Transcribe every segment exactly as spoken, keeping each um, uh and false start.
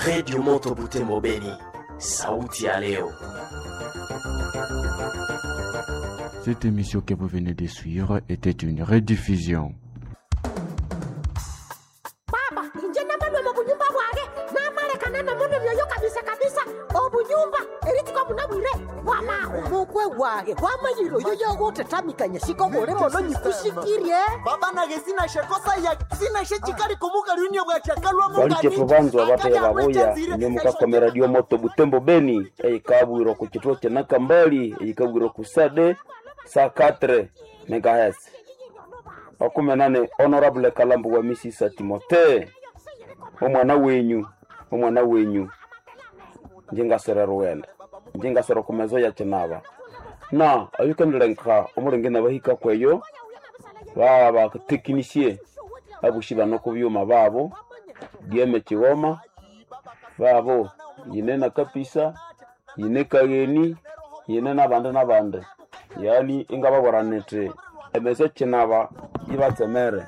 Redio Moto Butembo Beni, sauti ya leo. Cette émission que vous venez de suivre était une rediffusion. Baba, inje namalwe mu bunyumba bwage namalekana nomundu myoyo kabisa kabisa obunyumba eritiko bunabwire bwamaho mukwe wage wamanyire oyo yogotetamikanya shiko buli mono nyikushikirye. Baba nage sinashekosa ya sinashe chikali kumuka lunia bwachakalwa Balitefu banzu abataya babuya inyo mukakome Radio Moto Butembo Beni eyikabwirwa ku kituo kya Nakambali, eyikabwirwa ku Sade saa quatre megahertz. Makumi nane Honorable Kalambu wa Misisa Timote, omwana wenyu omwana wenyu njingasera ruwenda njingasera kumezo ya chinaba na ayukendelenka omulenge nabahika kweyo baba batekinisiye abushi bano ku byuma babo dieme Kigoma babo yine na kapisa yine kageni yine nabandi nabandi, yani ingababora niti emeso kinaba yibatsemere,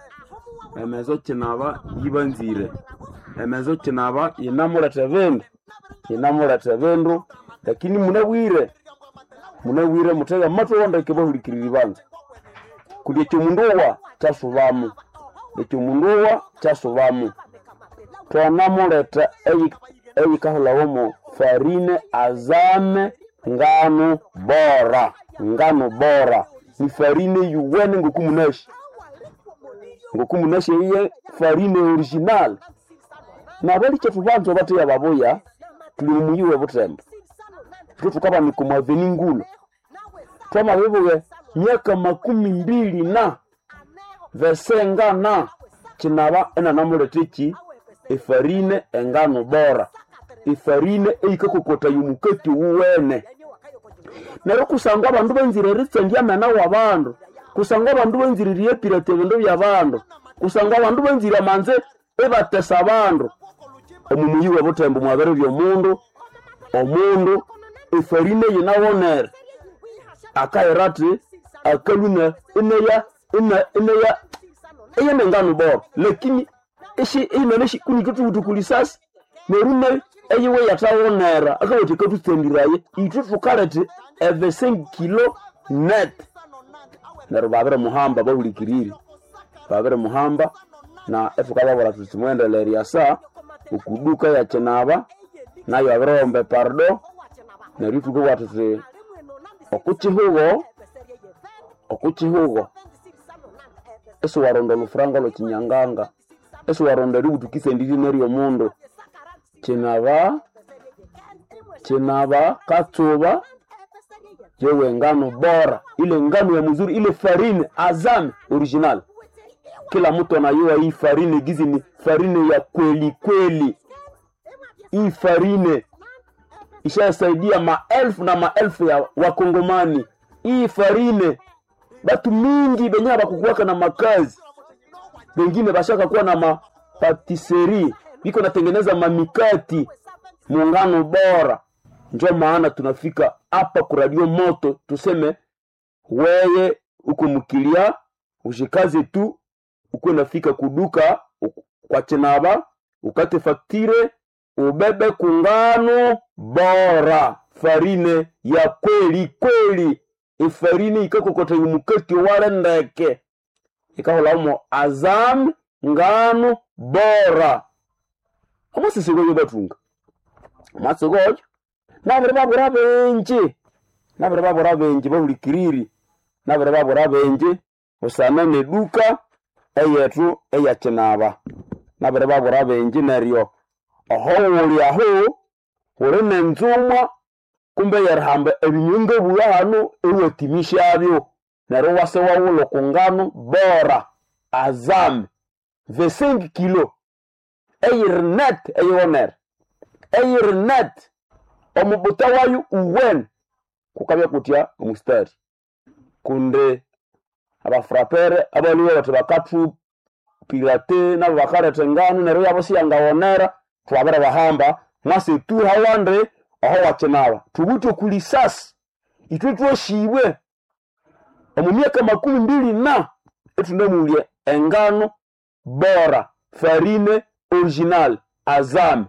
emeso kinaba yibanzire, emeso kinaba yinamuleta bindu yinamuleta bindu, lakini munabwire munabwire mutega mathu wondeke bahulikirira banza kundi ekyo mundu owa kyasubamu ekyo mundu owa kyasubamu twanamuleta eyikahulawomo farine azame ngano bora ngano bora ni farine yuwene ngokumunashi ngokumunashi iye farine original. Nabalikyetu bantu abateya babuya tuli mumuyi we Butembo twe tukabanika omu aveni ngulu twamabibuya myaka makumi mbili na vesenga na kinaba enanamuleta eki efarine engano bora efarine eyikakokota yomukati wuwene. Neryo kusangwa abandu banzire eritsandya amena w'abandu, kusangwa abandu banzire eriyepirata ebindu by'abandu, kusangwa abandu banzire amanze ibatesa abandu omu muyi we Butembo mwabere by'omundu omundu efarine yinawonere akayira athi akaluna ineya ina ineya eyene ngano bora, lakini ishi inene shikunikitubutukulisasi neryo nayo eyiwe yathawonera akawatha ikathutsandiraye ithwe thukaleta eve cinq kilo net. Neryo babiri muhamba bahulikirire babiri muhamba na ethukababwira thuthi mughendelere asa okuduka ya kinaba nayo abirighomba epardo. Neryo ithukabugha thuthi okukihugho okukihugho isiwaronda olufuranga olwekinyanganga isiwaronda eributhukisa endiri neryomundu kinaba kinaba katsuba yewe ngano bora ile ngano ya mzuri ile farine azame original. Kila mtu anayua hii farine gizi ni farine ya kweli kweli. Hii farine ishasaidia maelfu na maelfu ya wakongomani. Hii farine batu mingi benye bakukuwaka na makazi bengine bashaka kuwa na mapatisserie biko natengeneza mamikati muungano bora. Njo maana tunafika hapa ku Radio Moto tuseme weye uko mkilia ushikaze tu uko nafika kuduka kwa chinaba ukate faktire ubebe kungano bora farine ya kweli kweli ifarine ikakokota umukati wale ndeke ikaholamo azam ngano bora amasisigoyo batunga amasigoyo nabiri babura benji nabiri babura benji bahulikiriri nabiri babura benji usana neduka eyetu eyakinaba nabiri babura benji neryo oho wuli aho wuli nenzumwa kumbe yerihamba ebinyunga buya hano ewatimishabyo neryo wase wawula kungano bora azam vingt-cinq kilo eyiri net eyiwonere eyiri net omubuta wayo uwene kukabya kutya omustari kundi abafrapere abaliwe bathi bakathu pirate nabo bakaletha engano neryo yabo siyangawonera twabere bahamba mwase tu hawande aho wakinaba thubuthi okulisasi ithwe twashibwe omu myaka makumi mbili na ethunamulya engano bora farine original azame.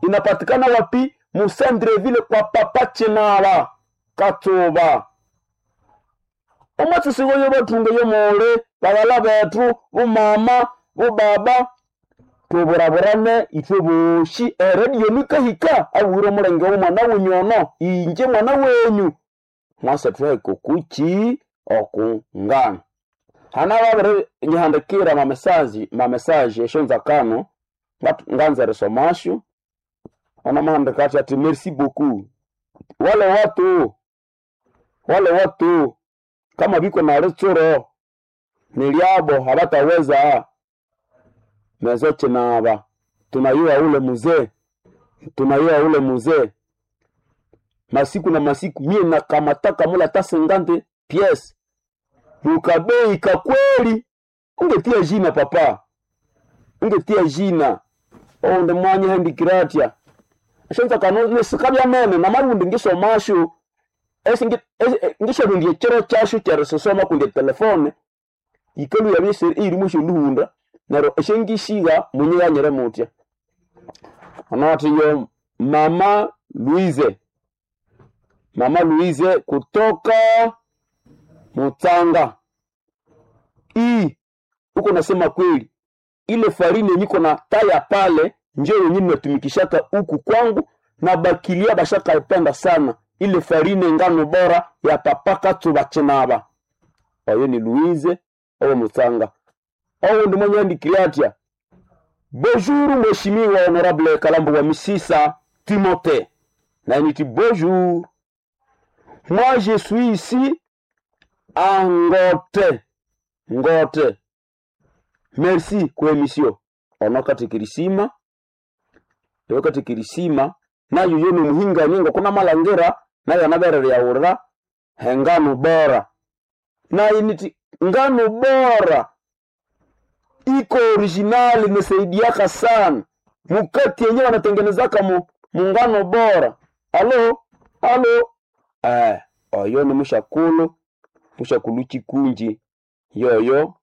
Inapatikana wapi? Musandreville kwa papa Chinaba Katsuba. Omwatsi yo bathunga yomole baghala bethu bumama bubaba tuburaburane ithwe boshi eredio nikahika abuhire omulenge w'omwana wenyu ono inje mwana wenyu mwase thuheke kuki okungana hana babiri nyihandikira mamesaji mamesaji eshonzakano nganza erisomasyo onomuhandika athi ati merci beaucoup wale watu wale watu kama biko na litsuro niliabo habataweza mezo chinaba tunayua ule muzee tunayua ule muzee masiku na masiku mie nakamataka mula ta cinquante pièces mukabei kakweli ungetia jina papa ungetia jina onde mwanya handikiratia shonza kano nisikabya mene namarundi ngisomasho ngisharundia ekiro kyasho kyerisisoma kundi etelefone ikalu yabya irimu esyonuhunda neryo esyangishiga munyighanyire mutya onawathi yo mama Louise mama Louise kutoka Mutsanga i uko nasema kweli ile farini yenye iko na taya pale njo yenye natumikishaka huku kwangu na bakilia bashaka ipenda sana ile farine ngano bora ya papa Katsuba Chinaba oyo ni Louise owo Mutsanga owo ndi mwenye andikire atya bonjour mheshimiwa honorable Kalambo wa Misisa Timothée na niti bonjour moi je suis ici à Ngote Ngote merci kwa emission onokatikirisima ewakatikirisima nayo yo nomuhingani ngokuna malangira nayo anaberere yaurira hengano bora nayo niti ngano bora iko originali imesaidiaka sana mukati yenyewe wanatengenezaka mu mungano bora alo alo eh, oyo ni mushakulu mushakulu chikunji yoyo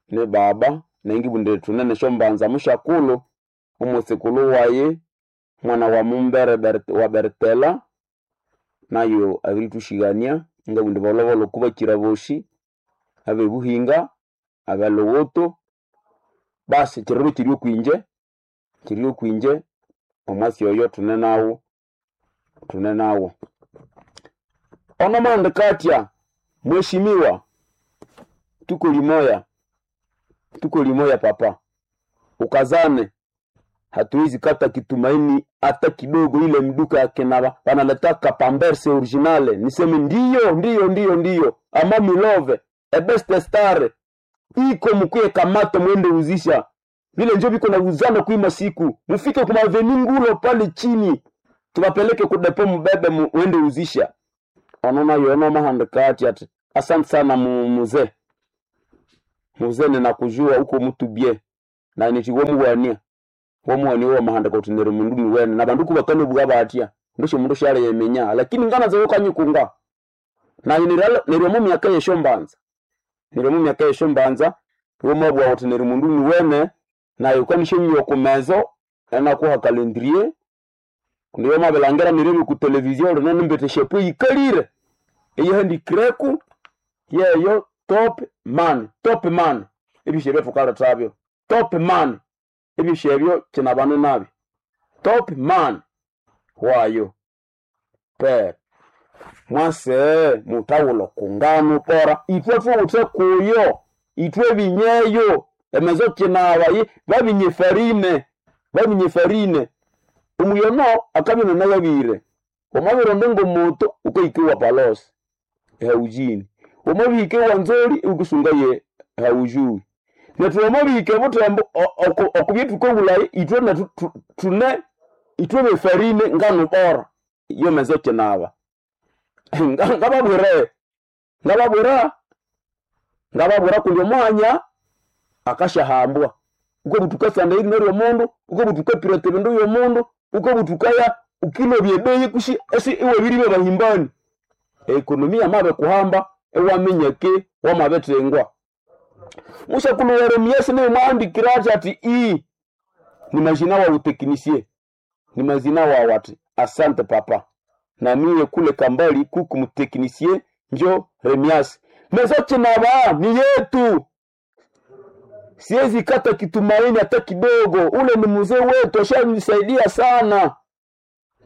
ni baba nengibundire tunene shombanza mushakulu umusikulu waye mwana wa mumbere Bert, wa Bertela nayo abiritushigania ngabundi bolobolo kubakira boshi abebuhinga abelowoto basi kiriro kiri okwinje kiri okwinje omwasi oyo tune nawo tune nawo ono mwandika atya mheshimiwa tuko limoya tuko limoya papa ukazane hatuwezi kata kitumaini hata kidogo ile mduka ya kenaba wanaletaka pamberse originale niseme ndiyo ndiyo ndiyo ndiyo ama milove ebeste star iko mkuye kamata mwende uzisha vile njo biko na uzana kuima siku mufike kuma aveni ngulo pale chini tubapeleke kudepo mubebe mwende uzisha onona yono mahandika ati ati asante sana mu, muzee muzee ninakujua uko mtu bie na nitiwo muwania womuwani wo mahandika uti neri mundu ni wene na bandu kubakane bwa batya ndosho mundu shale yemenya lakini ngana zawo kanyikunga na niryo mu myaka yeshombanza niryo mu myaka yeshombanza wo mabwa uti neri mundu ni wene na yukanishe nyo kumezo ena kuha calendrier ndiyo mabelangera nirebe ku televizio rino nimbete shepu yikalire eyihandikireku yeyo top man top man ebishe byetukalethabyo top man ebishe ebyo kinabane nabyo top man wayo per mwase mutawulo kungano pora itwe tuwuthe kuyo itwe binyeyo emezo kinaba babinye farine babinye farine omuyono akabya nayabire wamabironde ngomoto ukaikiwa palosi haujini wamabihike wanzoli ukusunga ye haujui nethu wamabihike butembo okubye tukobulayi itwe nethu tune itwe befarine ngano bora iyo mezo kinaba ngababwire ngababwira ngababwira kundi omwanya akashahambwa uko butuka sanda iri neryo mundu uko butuka pirate bindu yo mundu uko butukaya ukilo byebeyi kushi esi iwe biri bahimbani ekonomi yamabe kuhamba ewamenyeke wamabetengwa mushakulu Yeremiasi naye mwandikira ati ati i ni majina wa uteknisie Ni mazina wawe ati asante papa. Na miye kule kambali kuku mteknisie njo Remias. Mezo Chinaba ni yetu. Siwezi kata kitumaini hata kidogo. Ule ni mzee wetu, ashanisaidia sana.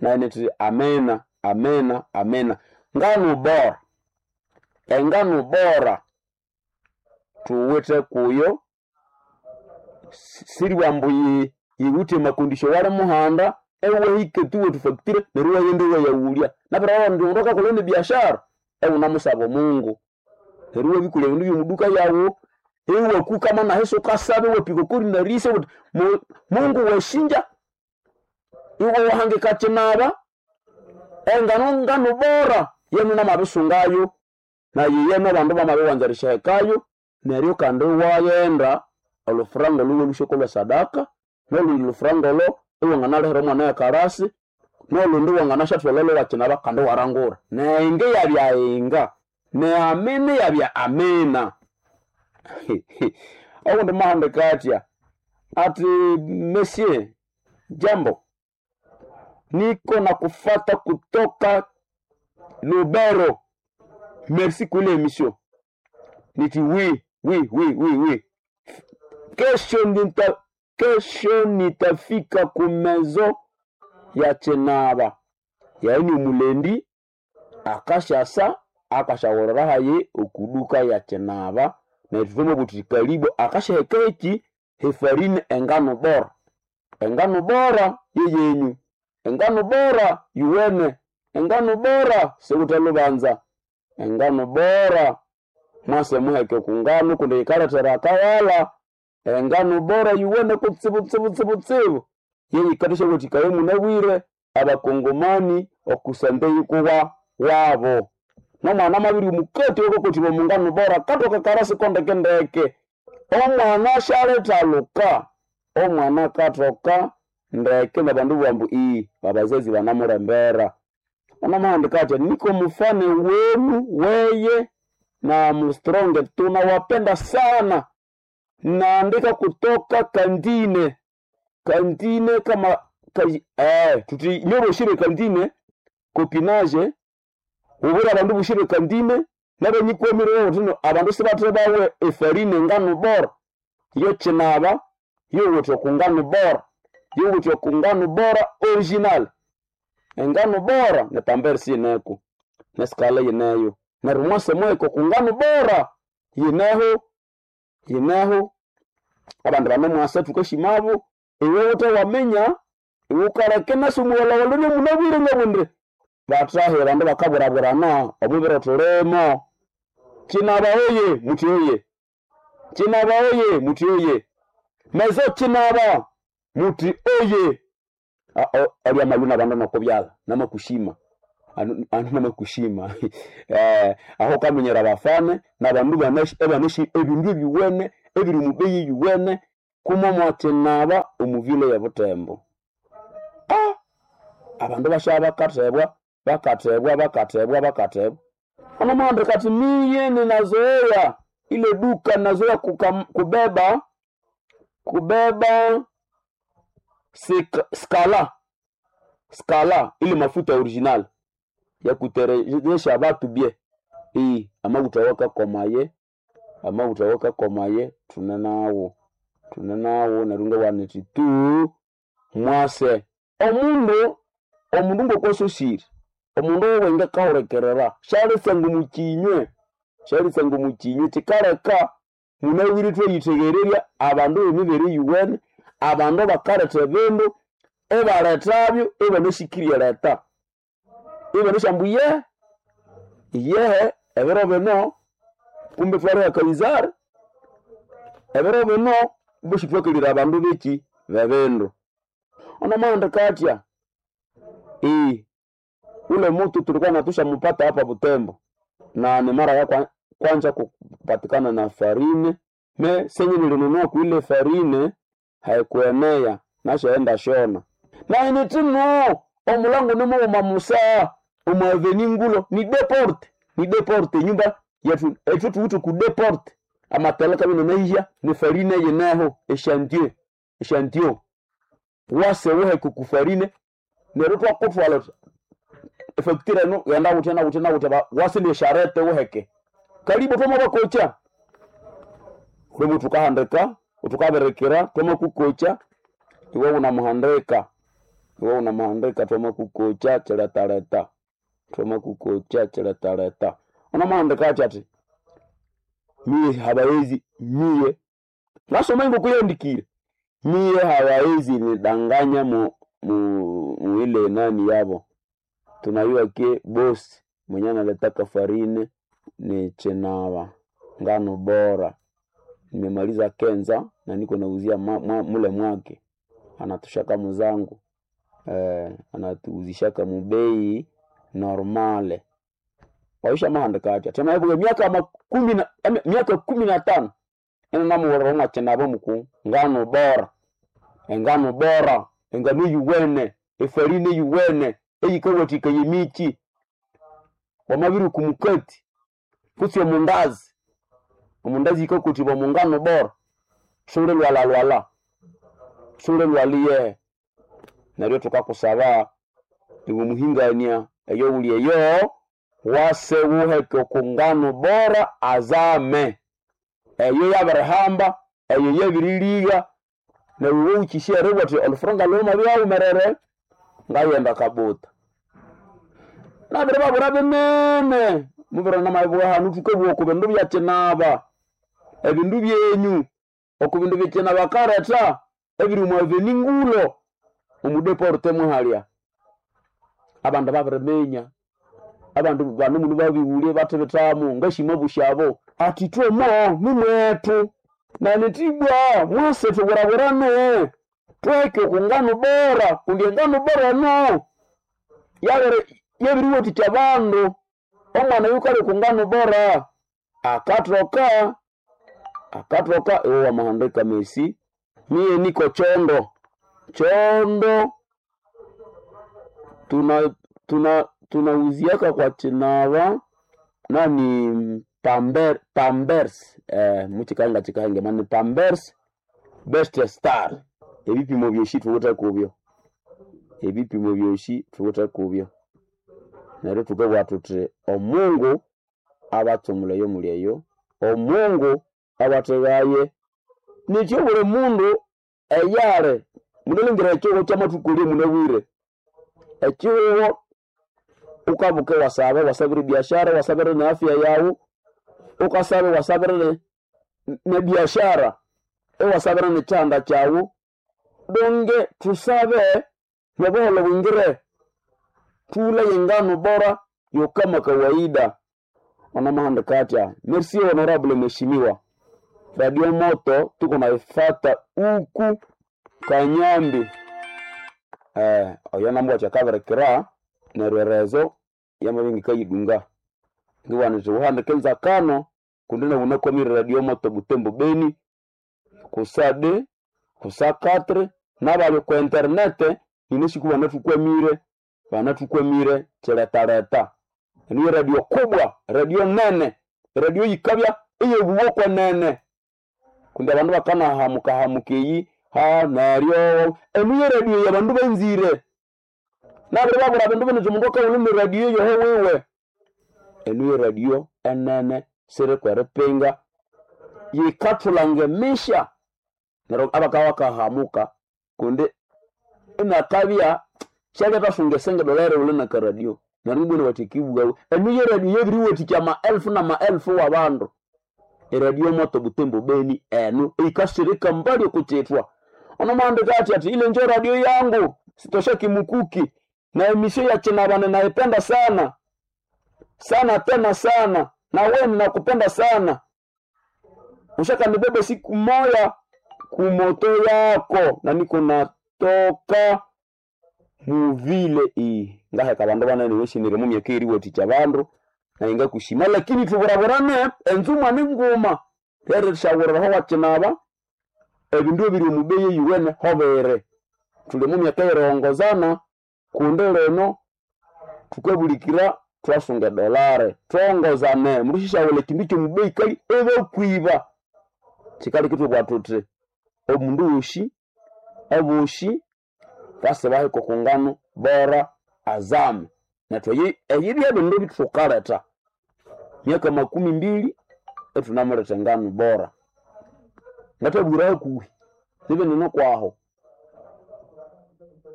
Na ineti amena, amena, amena. Ngano bora. Engano bora. Tuwete kuyo. Siri wambu yiwute makundisho wale muhanda. Ewe hike tuwe tufaktire neruwa yende we yawulia. Napera ndiondoka kulene biashara. Ewe unamusaba Mungu. Neruwa bikule bindu byomuduka yawo. Ewe kukama na heso kasabe we pikokuri na rise Mungu weshinja. Iwe wahange kachinaba. Engano ngano bora yenu namabisungayo na yeyeno bandu bamabiwanzarisha hekayo neryo kandi wayenda olufuranga luwe lushoko lwa sadaka nolundi lufuranga lo iwanganalehera omwana yakarasi nolundi wanganashathwalelo wakinaba kandi warangura nenge yabya inga neamini yabya amina. Awundi mahandika atya ati monsieur jambo niko na kufata kutoka Lubero. Merci kule emission. Niti oui, oui, oui, oui, oui. Kesho nita kesho nitafika kumezo ya Chenaba. Yaani mulendi akashasa akashawolera haye okuduka ya Chenaba na tuvume buti karibu akashahekeki hefarine engano bora. Engano bora yeyenyu. Engano bora yuwene. Engano bora sekuta lubanza. Engano bora mwase muheke kungano kundi ikaletera akawala. Engano bora yuwene kutsibu tsibu tsibu tsibu. Yeyikatisha kuti kaye munabwire abakongomani okusande kuwa wabo. Nomwana mabiri mukati wako kuti mungano bora katoka karasi kondeke ndeke. Omwana shaleta luka. Omwana katoka ndeke na bandu bambu ii babazazi banamurembera. Anamahandika ati niko mfane wenu weye na mstronge tunawapenda sana. Naandika kutoka kandine. Kandine kama kaji, eh tuti nyobo shire kandine kopinage ubura abandu bushire kandine nabenyikwemire tino abandu sibatire bawe efarine ngano bora yo Chinaba yo wote kungano bora yo wote kungano bora original engano bora ne pamber sineko ne skala yeneyo na rumwase mweko kungano bora yeneho yeneho abandu bane mwasa tukashimabo iwe wote wamenya iwe ukareke nasumuwala walone munabwire ngabunde batahe bandu bakaburaburana omubiro tulimo Chinaba oye muti oye Chinaba oye muti oye mezo Chinaba muti oye ali amaluna bandu nokubyala namakushima anu namakushima eh aho kamenyera bafane nabandu banashi ebanashi ebindu ebiwene ebiri mubeyi yuwene kumomo Chinaba omuvile ya Butembo. Ah abandu bashaba bakatebwa bakatebwa bakatebwa bakatebwa ono mwandre kati miye ninazoea ile duka nazoea kukam, kubeba kubeba sika, skala skala ile mafuta original ya kuterejesha batu bie iyi amaguta komaye amaguta waka komaye tunenawo tunenawo nerunga waniti tu mwase omundu omundu ngokososire omundu owenge kahurekerera shalitsa ngumukinywe shalitsa ngumukinywe kikaleka munawire tweyitegererya abandu b'emibere yuwene abandu bakaletha ebindu ebalethabyo ibanashikirye leta ibanashambu ye iyehe ebiro bino kumbe twaliha Kaisari ebiro bino kumbe shitwakalire abandu beki bebindu ono mahandika atya ii ule mutu tulikuwa natushamupata hapa Butembo na ni mara ya kwa, kwanza kupatikana na farine me senye nilinunua kuile farine haikuenea nashaenda shona na initino omulango nimuuma musa omwaveni ngulo ni deporte ni deporte nyumba yetu etu tuutu ku deporte amateleka bino naija ni farine yeneho echantier echantion wase wehe kukufarine Neryo twakutwala efacture eno genda gutya na gutya na gutya wasile sharete uheke. Karibu twamabakocha. Ulimo tukahandika, tukaberekera twamakukocha iwe unamuhandika. Iwe unamuhandika twamakukocha chiletaleta. Twamakukocha chiletaleta. Unamuhandika achi ati mie habaezi mie nasoma ingo kuyandikire mie habaezi nidanganya mu, mu, mu ile nani yabo tunayua ke bosi mwenye analetaka farine ni chenava ngano bora nimemaliza kenza na niko nauzia ma, mwa, mule mwake anatushaka muzangu eh, anatuuzishaka mubei normale waisha mahandika atya tena yabuye miaka makumi na em, miaka kumi na tano ena namuworera mwachenavo muku ngano bora engano bora engano yuwene efarine yuwene eyikawathika yemichi wamabiri kumukati kutsi omundazi omundazi yikakutibwa mungano bora sule lwala lwala sule lwaliye neryo tukakusaba iwe muhingania eyo uli eyo wase wuheke okungano bora azame eyo yabirihamba eyo yabiriliga neryo iwe wukisya eribwa uthi olufuranga lhuma lwawumerere ngayenda kabuta nabiri babura binene mubiro namabibwa hanu thukabugha oku bindu byakinaba ebindu byenyu oku bindu byekinaba karetha ebiri omu aveni ngulo omudeporte muhalya abandu babiriminya abandu bano munu babiwulye bathibithamu ngashima bushabo ati twemo nimwetu nanitibwa mwase thuburaburane tweke okungano bora kundi engano bora no yabere yabiriwathikya abandu omwana yukali okungano bora akathoka akathoka iwe wamahandika mesi miye niko chondo chondo tuna tuna tunauziaka kwa chinava nani pamber pambers eh muchikanga chikahange mani pambers best star ebipimo byoshi thuwithe kubyo ebipimo byoshi thuwithe kubyo neryo thukabugha thuthi omungu abatsumula eyo muli eyo omungu abatheghaye nikyo buli mundu eyali munalingira ekihugho kyamathukulye munabwire ekihugho ukabuka wasaba wasabire biashara wasabire na afya yawu ukasabe wasabire ne, ne biashara ewasabire ne chanda kyawu donge tusabe nobuholo bwingire tule yengano bora yo kama kawaida onamahandika atya merci honorable mheshimiwa radio moto tuko naifata uku kanyambi eh oyo nambwa kyakabirekera neryo erezo yamabingi kayidunga ngiwanite uhandike nzakano kundi nawunakwamire radio moto butembo beni kusa de kusa katre nabali ku internete ninesiku banathukwamire banathukwamire kiletaleta niyo radio kubwa radio nene radio yikabya eyebuwokwa nene kundi abandu bakanahamukahamuka eyi ha neryo eniyo radio yabandu benzire nabiri babura bindu biniti omundu akawuluma eradio yoho wiwe eniyo radio enene sirikweripinga yikathulanga emisha neryo abakabya bakahamuka kundi inakabya syalyathasonga esenge dolere wule nakaradio neryo ibwene bathi kibughawu eniyo eradio yabiriwathikya amaelfu namaelfu wabandu eradio moto butembo beni enu ikasirika mbali okuchithwa onomahandika athi ati ile njo radio yangu sitosha kimukuki na emisio ya chinabane naipenda sana sana tena sana na we ninakupenda sana ushakanibebe siku moya kumoto yako na niko natoka muvile iyi ngaheka abandu banene weshinire mumyaka eriwathikya abandu naye ngakushima lakini thuburaburane enzuma ninguma rerishawuriraho wakinaba ebindu ebiri omubeyi eyuwene hobere thuli mumyaka eyerihongozana kundi lino thukabulikira thwasunga edolare thwongozane murushishawula ekindu kyomubeyi kali ebakwiba kikali kithubwa thuthi omundu wosi abosi Base baheka okungano bora azame. Nethu eyi byebindu bithukaleta myaka makumi mbili ethunamuletha engano bora. Ngathabwira hakuhi nibinene kwaho.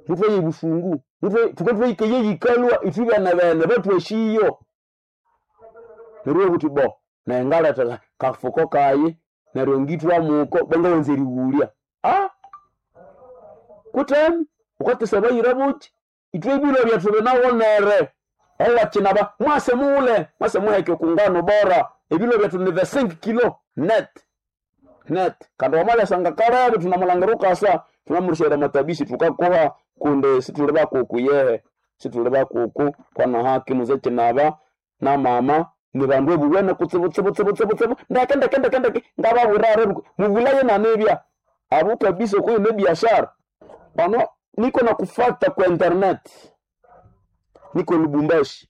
Muthwaye busungu, thukatwahika eyikalwa ithwe bene bene bathwashiyo. Neryo obuthi bo, naye ngaletha kafuko kayi neryo ngithwamuko bangawanza erighulya. Ah! Kutemi ukatesa abayira buki ithwe ebilwa byethu binawonere. Owakinaba mwase mughule, mwase muheke okungano bora. Ebilwa byethu ni the cinq kilo net. Net. Kandi wamalyasanga kalebe thunamulangira ukasa thunamurusyera amatabisi thukakuha kundi sithuli bakuku yehe. Sithuli bakuku kwana haki muze kinaba na mama ni bandu ebuwene kutsibu tsibu tsibu tsibu tsibu ndeke ndeke ndeke ndeke ngababwira rero muvulaye nanebya abo kabisa okuyo ne biashara pano niko na kufata kwa internet niko Lubumbashi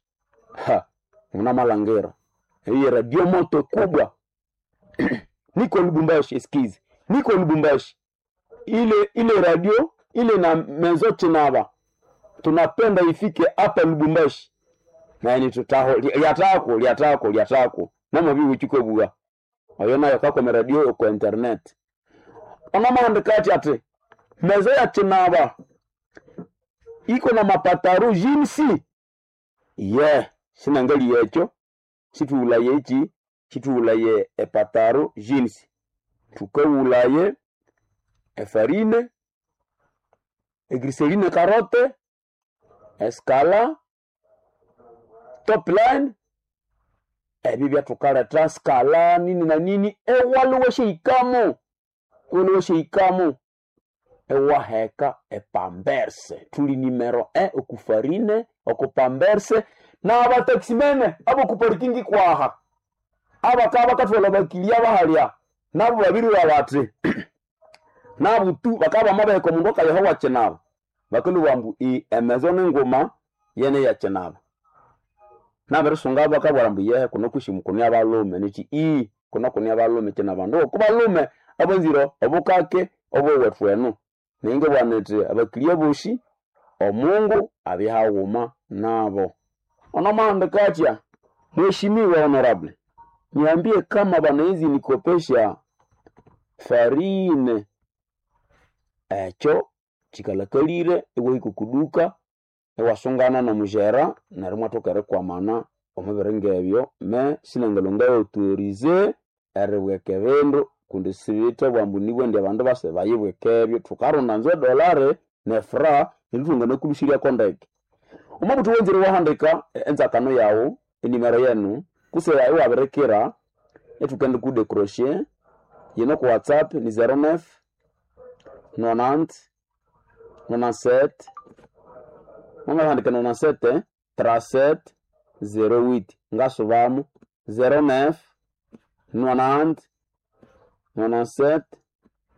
ha muna malangira hii radio moto kubwa niko Lubumbashi eskize niko Lubumbashi ile ile radio ile na mezo chinaba tunapenda ifike hapa Lubumbashi naye nitutaho lyatako lyatako lyatako namabibuchikobua oyo nayo kakome radio kwa internet onomandika ati ati mezo ya chinaba iko na mapataru jinsi ye sinangali yecho situulaye ichi situulaye epataru jinsi tukaulaye efarine egriseline karote eskala top line ebi byathukaleta skala nini na nini ewaliwe sheikamo waliwe sheikamo ewaheka epamberse tuli nimero e okufarine okupamberse na abataximene abokuparikingi kwaha abakaba bakathwala bakilia bahalya nabo babiri babati nabutu bakaba bamabeheka omundu akayeho wakinaba bakalubwa ambu i emezo nenguma yene yakinaba nabirisunga bakabwira ambu yehe kuno kwisi kuni abalume nichi i kuno kuni abalume kina bandu okubalume abanzire obukake obwewethu enu ninge bwana iti abakilia bosi omungu abihaghuma nabo onomahandika atya mheshimiwa honorable niambie kama banawezi nikopesha farine ekyo kikalakalire iwahika okuduka iwasungana nomujera neryo imwathoka erikwamana omubiri ngebyo me sinangalonga authorize eribweka ebindu kundi sibithe bwambu nibwo indi abandu base bayibweka ebyo thukarunda nzu edolare nefra neryo ithwanganakulushiryako ndeke omwabuthu wenzire wahandika enzakano yawu enimero yenu kuse iwabirikira ithukende kudecrocher yino ku whatsapp ni zero nine nonante nonante-sept mwamahandika nonante-sept trente-sept zero huit ngasubamu zero nine nonante nonante-sept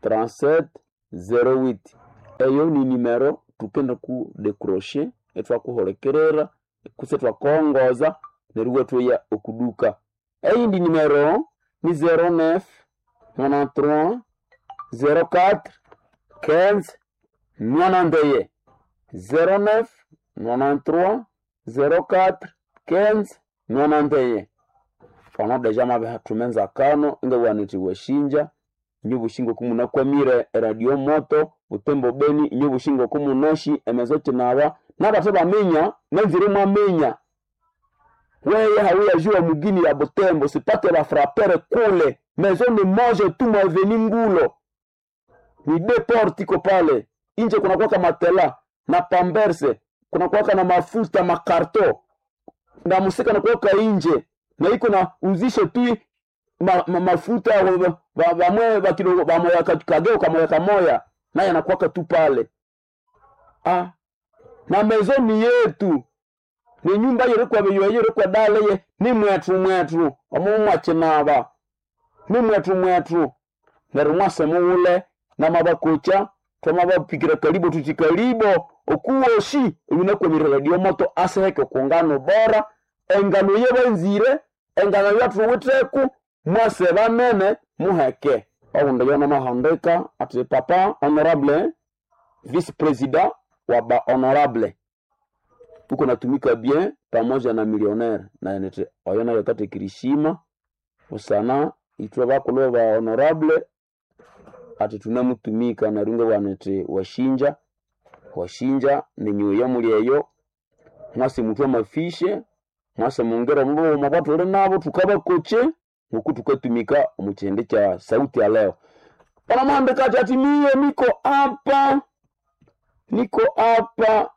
trente-sept zero huit eyo ni nimero tukenda ku decrocher ithwakuhulikirira kutse ithwakongoza neryo iwathoya okuduka eyindi nimero ni zero nine nonante-trois zero quatre quinze nonante-et-un zero neuf nonante-trois zero quatre quinze nonante-et-un ono deja mabihathuma enzakano ingabugha nithi washinja inye obushinga okumunakwamire eradio moto butembo beni inye obushinga okumunashi emezo kinaba nabathe baminya nanzire mwaminya weye hawiyajua mugini ya butembo sipate bafrapere kule mezo ni moja tu mwaveni ngulo ni de porte iko pale inje kunakuwaka matela na pamberse kunakuwaka na mafuta makarto na musika nakuwaka inje na iko na uzishe tu ma, ma, mafuta bamwe bakidogo bamoya kageo kamoya kamoya naye anakuwaka tu pale ah na mezo ni yetu ni nyumba yerikwa beyo yerikwa dale ye ni mwetu mwetu omu mwakinaba ni mwetu mwetu neryo mwase mughule namabakocha twamabapikira kalibo tuti kalibo okuwoshi ewinakwamire radio moto aseheke okungano bora engano yebanzire engano yathuwitheku mwase banene muheke oundi yona mahandika ati papa honorable vice president wa ba honorable uko natumika bien pamoja na millionnaire na nete oyo nayo katekirishima usana itwe bakulu ba honorable ati tunamutumika narunge wanete washinja washinja ninyuya muli eyo mwase mutwe mafishe mwase mungera mubo mwabatule nabo tukabakoche nguku tukatumika omukyende kya sauti ya leo panamwandika ati ati miye niko hapa niko hapa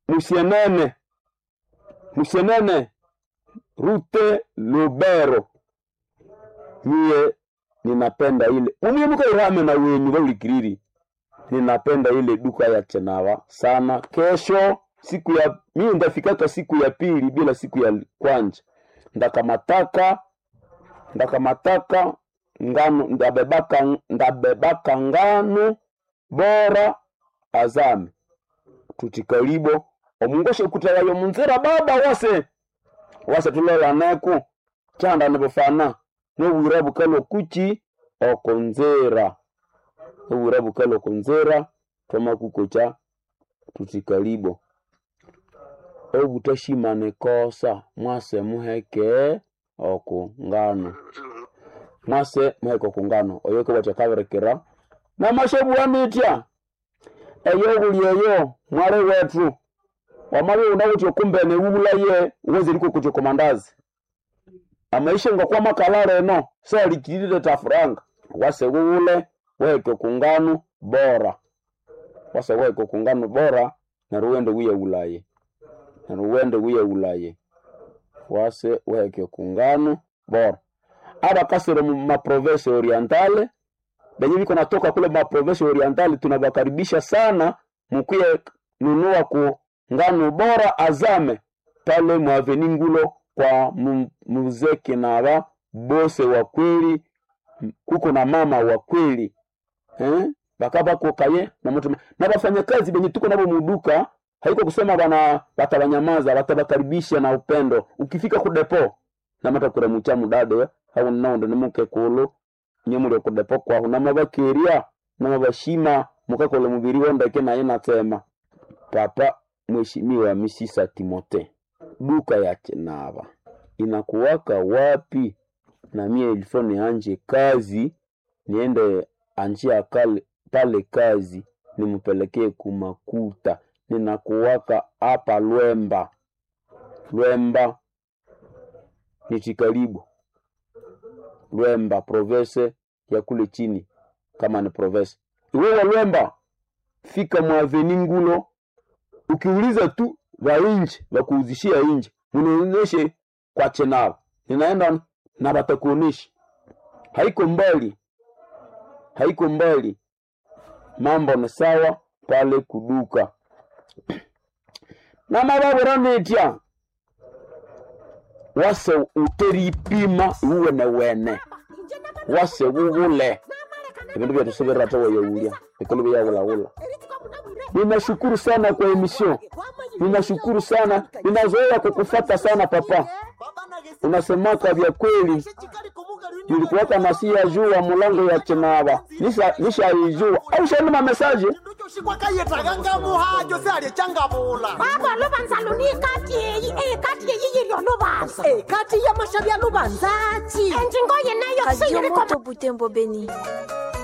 musienene musienene rute lubero miye ninapenda ile mumie mukairame na wenyu baulikiriri ninapenda ile duka ya chenawa sana kesho siku ya mie ndafikaka siku ya pili bila siku ya kwanja ndakamataka ndakamataka ngano ndabebaka ndabebaka ngano bora azame tutikalibo omungoshe kutalayo munzira baba wase wase tulolaneko chanda nibufana nobwira bukalo kuchi okonzera obwira bukalo okonzera twamakukocha tutikalibo obutashimane kosa mwase muheke oku ngano mwase muheke oku ngano oyo kebwatya kabirekera namashebuwanitya eyo buli eyo mwale wetu wamabe unawuti okumbene wubulaye uweze liko kucho komandazi amaisha ngakwa makalale eno salikirire tafuranga wase wuwule weke kungano bora wase weke kungano bora naruwende wiye ulaye naruwende wiye ulaye wase weke kungano bora abakasire mu maprovince orientale benye biko natoka kule maprovince orientale tunabakaribisha sana mukuye nunua ku ngano bora azame pale mwaveni ngulo kwa mu- muzee Kinaba bose wa kweli kuko na mama wa kweli eh? bakabakokaye na mutu na bafanyakazi benye tuko nabo muduka haiko kusema bana batabanyamaza batabakaribisha na upendo ukifika ku depo na mata kuramucha mudade au naonde nimuke kulu nyemuli ku depo kwahu namabakeria namabashima mukakola mubiri wondeke naye natema papa mheshimiwa misisa Timote duka ya Chenava inakuwaka wapi? Na mie ilifo nianje kazi niende anjia kale, pale kazi nimpelekee kumakuta. Ninakuwaka hapa Lwemba, Lwemba nichikaribu Lwemba province ya kule chini, kama ni province iwewe Lwemba, fika mwaveni Ngulo ukiuliza tu va inje vakuuzishia inje munionyeshe kwa chenao ninaenda na batakuonesha haiko mbali haiko mbali mambo ni sawa pale kuduka na mavavuranitya wase uteripima iwene wene wase wuwule ebindu byetu tawayaulya bikolo byawulawula ninashukuru sana kwa emission ninashukuru sana ninazoea kukufata sana papa unasemaka vya kweli nilikuwaka nasia jua mulango ya chenava nishaijua nisha au shanuma mesaje shikwakayetaganga muhajo sealye changabula baba lubanza lunikati eyi ekati eyi yilyo lubanza ekati yamasha bya lubanzachi enjingo yenayo Radio siyiriko Moto Butembo Beni.